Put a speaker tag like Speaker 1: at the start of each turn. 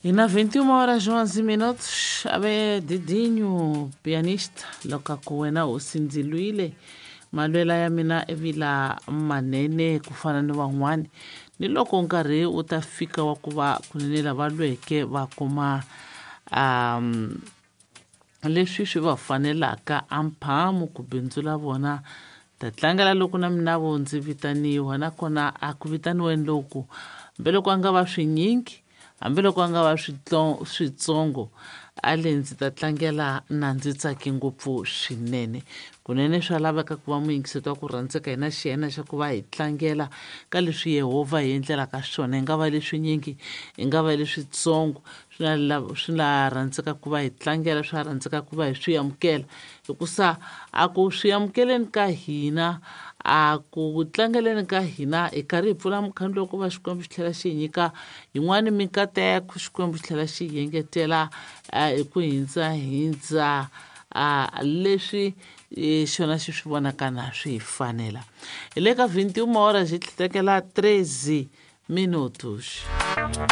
Speaker 1: E na 21 horas 11 minutos, ave Didinho, pianista, loko ku wena hosi ndzi lwile malwela ya mina evila manene ku fana ni van'wani ni loko nkarhi wu ta fika wa ku va kunene lava lweke va kuma um leswi swi va fanelaka amphamu ku bindzu la vona ta tlangela loko na mina vo ndzi vitaniwa nakona a ku vitaniweni loku hambiloko a nga va swinyingi hambiloko a nga va switsongo a le ndzi ta tlangela na ndzi tsake ngopfu swinene. Kunene swa laveka ku va muyingiseti wa ku rhandzeka hina xiyena xa ku va hi tlangela ka leswi Yehovha hi endlelaka swona, i nga va leswinyingi i nga va leswitsongo, swi la rhandzeka ku va hi tlangela, swa rhandzeka ku va hi swi amukela, hikusa a ku swi amukeleni ka hina a ku tlangeleni ka hina hi karhi hi pfula mukhandlu wa ku va Xikwembu xi tlhela xi hi nyika yin'wani mikateko, Xikwembu xi tlhela xi hi engetela hi ku hindzahindza leswi xona xi swi vonaka na swi hi fanela. Hi le ka 21 horas hi tlhekela 13 minutos.